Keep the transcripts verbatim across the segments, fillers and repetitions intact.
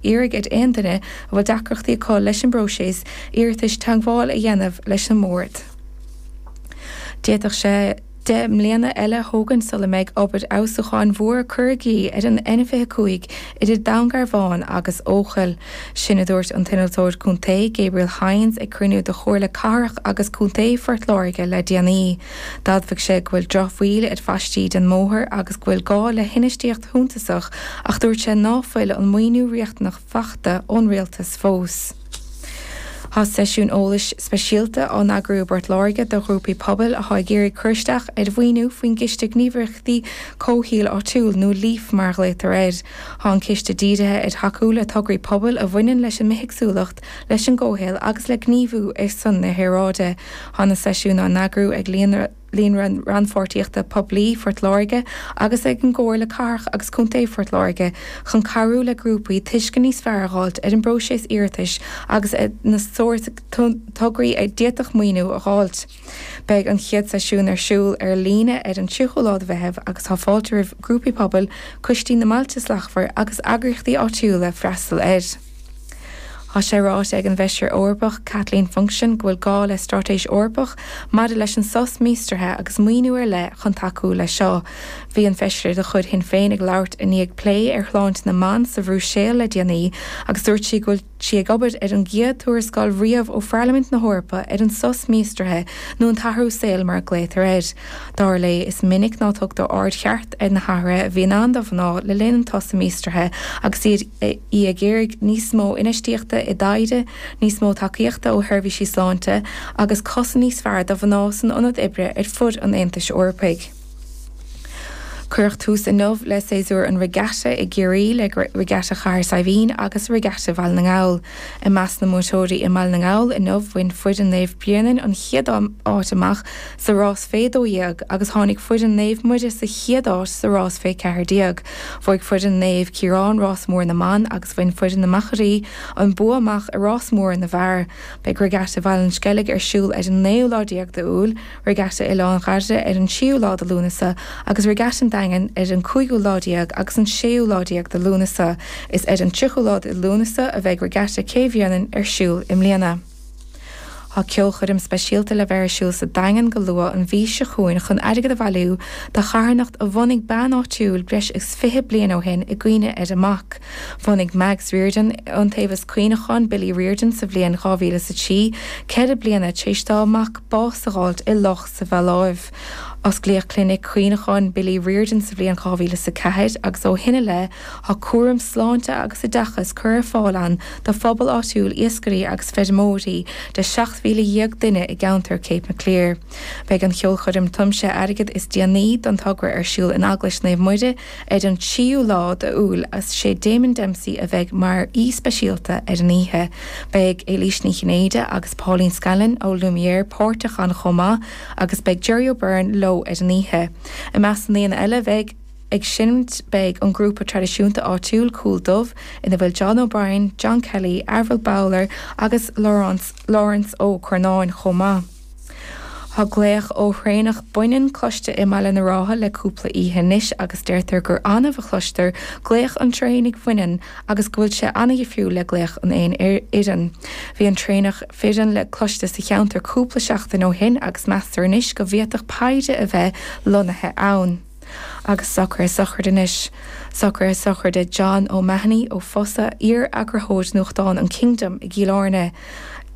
iarraidh ar aon duine a bhfuil deacrachtaí acu leis an bpróiseas iarratais teagmháil a dhéanamh leis an mbord. D'fhéadfadh sé deich mbliana eile a thógaint sula mbeidh obair fheabhsúcháin mhór curtha i gcrích ar an N fiche cúig idir Dún Garbhán agus Eochaill. Sin a dúirt an t-innealtóir contae Gabriel Hynes ag cruinniú de Chomhairle Cathrach agus Contae Phort Láirge le déanaí. D'admhaigh sé go bhfuil drochbhail ar phaistí den mbóthar agus go bhfuil gá le hinfheistíocht shuntasach ach dúirt sé ná fuil an maoiniú riachtanach faighte ón rialtas fós. Tá seisiún eolais speisialta á n-eagrú i bPort Láirge do ghrúpaí pobail atá ag iarraidh cur isteach ar mhaoiniú faoin gCiste Gníomhaíochtaí Comhshaoil Áitiúil nó LEAF mar a ghlaotar air. Tá an ciste dírithe ar thacú le tograí pobail a bhaineann leis an mbithéagsúlacht, leis an gcomhshaol agus le gníomhú ar son na haeráide. Tá na seisiúin á n-eagrú ag Líonra Líonra Rannpháirtíochta Poiblí Phort Láirge agus ag an gComhairle Cathrach agus Contae Phort Láirge chun cabhrú le grúpaí tuiscint níos fearr a fháilt ar an bpróiseas iarratais agus ar na sórt tograí a d'fhéadfadh maoiniú a fháilt. Beidh an chéad seisiún ar siúl ar líne ar an tríochú lá de Mheitheamh agus tá fáilte roimh grúpaí pobail, coistí na mBailte Slachtmhar agus eagraíochtaí áitiúla freastal air. Tá sé ráite ag an bhFeisire Eorpach Kathleen Funchion go bhfuil gá le straitéis Eorpach maidir leis an sos míostraithe agus maoiniú ar leith chun tacú leis seo. Bhí an feisire de chuid Shinn Féin ag labhairt i ndiaidh plé ar shláinte na mban sa Bhruiséil le déanaí agus dúirt sí go bhfuil sí ag obair ar an gcéad tuarascáil riamh ó Pharlaimint na hEorpa ar an sos míostraithe nó an t-athrú saoil mar a glaotar air. Dar léi is minic ná tugtar aird cheart ar na hathruithe a bhíonn ann do mhná le linn an tsosa míostraithe agus iad í ag iarraidh níos mó infheistíochta i dtaighde, níos mó tacaíochta ó sheirbhísí sláinte agus cosaint níos fearr do mhná san ionad oibre ar fud an Aontais Eorpaigh. Cuireadh tús inniu le séasúr an Regatta i gCiarraí le Regatta Chathair Saidhbhín agus Regatta Bhaile na nGall. I measc na mbuaiteoirí i mBaile na nGall inniu bhain foireann Naomh Bréanainn an chéad áit amach sa rás fé dó dhéag agus tháinig foireann Naomh Muire sa chéad áit sa rás fé ceathair déag. Bhuaigh foireann Naomh Ciarán rás mór na mban agus bhain foireann na Machairí an bua amach i rás mór na bhfear. Beidh Regatta Bhaile an Sceilg ar siúl ar an naoú lá déag d'Iúil, Regatta Oileán Dhoire ar an tríú lá de Lúnasa agus Regatta an Daingin ar an cúigiú lá déag agus an séú lá déag de Lúnasa. Is ar an tríochú lá de Lúnasa a bheidh Regatta Cé Bhréanainn ar siúl i mbliana. Tá ceolchoirm speisialta le bheith ar siúl sa Daingean go luath an mhí seo chugainn chun airgead a bhailiú do charthanacht a bhunaigh bean áitiúil breis is fiche bliain ó shin i gcuimhne ar a mac. Bhunaigh Mags Riordan Iontaobhas Cuimhneacháin Billy Riordan sa bhliain dhá mhíle is a trí, ceithre bliana tar éis dá mac bás a fháilt i loch sa Mhaláiv. Osclaíodh Clinic Cuimhneacháin Billy Riordan sa bhliain dhá mhíle is a ceathair agus ó shin i leith tá cúram sláinte agus oideachas curtha ar fáil ann do phobal áitiúil iascairí agus feirmeoirí de seacht mhíle dhéag duine i gceantar Cape Maclear. Beidh an cheolchoirm tiomsaithe airgid is déanaí don togra ar siúl in Eaglais Naomh Muire ar an tríú lá d'Iúil agus sé Damien Dempsey a bheidh mar aoi speisialta ar an oíche. Beidh Éilís Ní Chinnéide agus Pauline Scanlon ó Lumière páirteach ann chomh maith agus beidh Jerry O'Byrne leo ar an oíche. I measc na ndaoine eile bheidh ag seinnt beidh an grúpa traidisiúnta áitiúil Cúl Dubh ina bhfuil John O'Brien, John Kelly, Avril Bowler agus Lawrence, Lawrence Ó Curnáin chomh maith. Tá glaoch ó thraonach baineann cloiste i mBaile na Rátha le cúpla oíche anois agus deirtear gur annamh a chloistear glaoch an traonaigh bhaineann agus go bhfuil sé an-dhifriúil le glaoch an éin fhireann. Bhí an traonach fireann le cloiste sa cheantar cúpla seachtain ó shin agus meastar anois go bhféadfadh paire a bheith lonnaithe ann. Agus socruithe sochraide anois. Socruithe sochraide John O'Mahony ó Fosa, iar-eagarthóir nuachtáin an Kingdom i gCill Airne.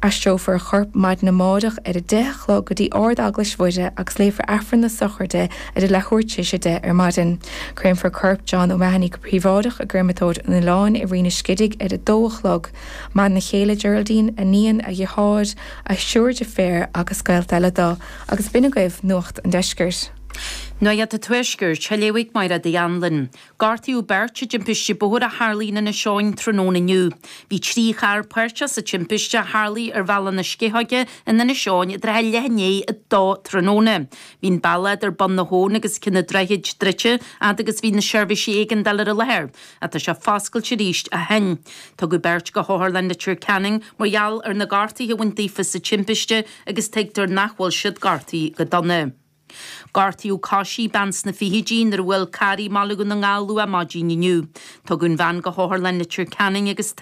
Aistreofar a chorp maidin amárach ar a deich a chlog go dtí Ard-Eaglais Mhuire agus léifear Aifreann na sochraide ar a leathuair tar éis a deich ar maidin. Créamfar corp John O'Mahony go príobháideach i gcréamatóir an Oileáin i Rinn an Scidigh ar a dó a chlog. Maireann a chéile Geraldine, a níon, a dheartháir, a thriúr deirféar agus gaolta eile dó. Agus b'in agaibh Nuacht an Deiscirt. Nuacht an Tuaiscirt, á léamh ag Máire Hanlon. Gortaíodh beirt i dtimpiste bóthair a tharla in Inis Eoghain tráthnóna inniu. Bhí trí charr páirteach sa timpiste a tharla ar bhealach na Sceithoige in Inis Eoghain i dtrátha leath i ndiaidh a dó tráthnóna. Bhí an bealach idir Bun na hAbhann agus Cionn an Droichid druidte fhad agus bhí na seirbhísí éigeandála ar an láthair, ach tá sé foscailte arís ó shin. Tugadh beirt go hOtharlann Leitir Ceanainn mar gheall ar na gortuithe a bhain daofa sa timpiste agus tuigtear nach bhfuil siad gortaithe go dona. Gortaíodh cois bean sna fichidí nuair a bhuail carr í i mBaile Dhún na nGall luath maidin inniu. Tugadh an bhean go hOtharlann Leitir Ceanainn agus